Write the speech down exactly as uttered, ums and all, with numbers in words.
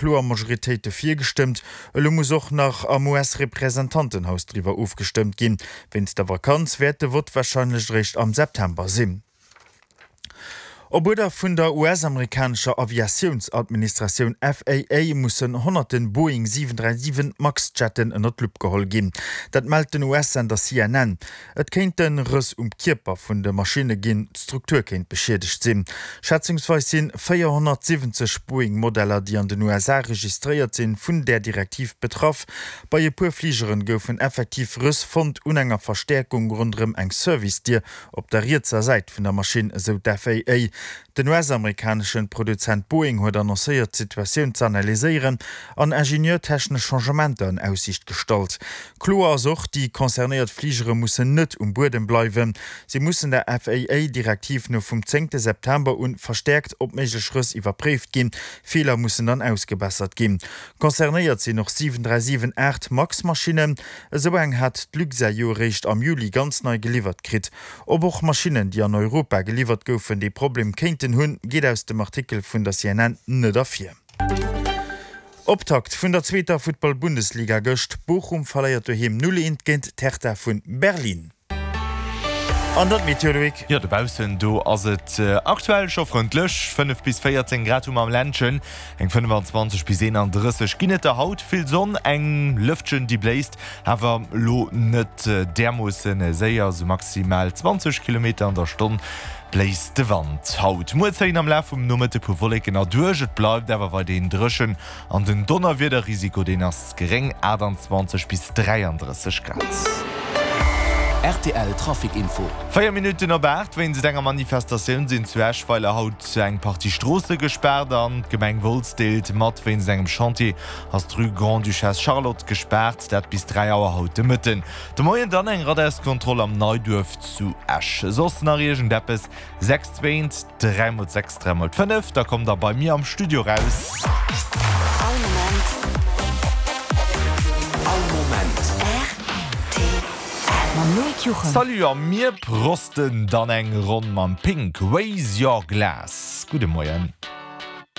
kloer Majoritéit dofir gestëmmt. Elo muss och nach am US-Representantenhaus driwwer ofgestëmmt ginn. Wéinst der Vakanz wäert de Vott warscheinlech eréischt am September sinn. Op Uerder vun der US-amerikanescher Aviatiounsadministratioun FAA mussen honnerte Boeing siwen dräi siwen Max-Jetten ënner d'Lupp geholl ginn. Dat mellt den US-Sender C N N. Et kéinte Rëss um Kierper vun de Maschinne ginn, d'Struktur kéint beschiedegt sinn. Schätzungsweis si véierhonnertsiwwenzeg Boeing-Modeller, déi an den U S A registréiert sinn, vun där Direktiv betraff. Bei e puer Fligeren goufen effektiv Rëss fonnt un enger Verstäerkung ronderëm eng Service-Dier op der rietser Säit vun der Maschinn, esou d'F A A. Den U S-amerikaneschen Produzent Boeing huet annoncéiert, d'Situatioun z'analyséieren an ingenieurtechnesch Changementer an Aussiicht gestallt. Kloer ass och, déi concernéiert Fligere mussen net um Buedem bleiwen. Si mussen der F A A-Direktiv no vum zéngte September un verstäerkt op méiglech Rëss iwwerpréift ginn. Feeler mussen dann ausgebessert ginn. Concernéiert sinn och siwen dräi siwen aacht Max-Maschinnen. Esou eng hat d'Luxair jo eréischt am Juli ganz nei geliwwert kritt. Ob och Maschinnen, déi an Europa geliwwert goufen, dee Problem kéinten hunn, geet aus dem Artikel vun der C N N net ervir. Optakt vun der zweeter Futtball-Bundesliga gëscht, Bochum verléiert doheem null eent géint d'Hertha vun Berlin. An dann d'Meteo, Loïc. Jo, dobaussen do ass et aktuell scho frëndlech, fënnef bis véierzéng Grad hu mer am Ländchen, eng fënnefenzwanzeg bis eenandrësseg ginn et der haut. Vill Sonn, eng Lëftchen déi bléist, awer lo net därmoosse séier, sou maximal zwanzeg Kilometer an der Stonn bléist de Wand haut. Muer zéien am Laf vum Nomëtte puer Wolleken erduerch, et bleift awer weiderhin dréchen an den Donnerwiederrisiko deen ass geréng, aachtanzwanzeg bis dräiandrësseg Grad. R T L Trafic Info. Véier Minutten op aacht. Wéinst enger Manifestatioun sinn zu Eschweiler haut eng Partie Stroosse gespaart an d'Gemeng Wolz deelt mat, wéinst engem Chantier ass d'Rue Grande-Duchesse Charlotte gespaart, dat bis dräi Auer haut de Mëtten. De Moien dann eng Radarskontroll am Neiduerf zu Esch. Soss nach iergendeppes? Sechs zwéint, dräi mol sechs, dräi mol fënnef, da kommt der bei mir am Studio raus. All Moment. All Moment. R T L. Mam Loïc Juchem. Salut a mir prosten dann eng Ronn mam Pink, Raise Your Glass. Gudde Moien.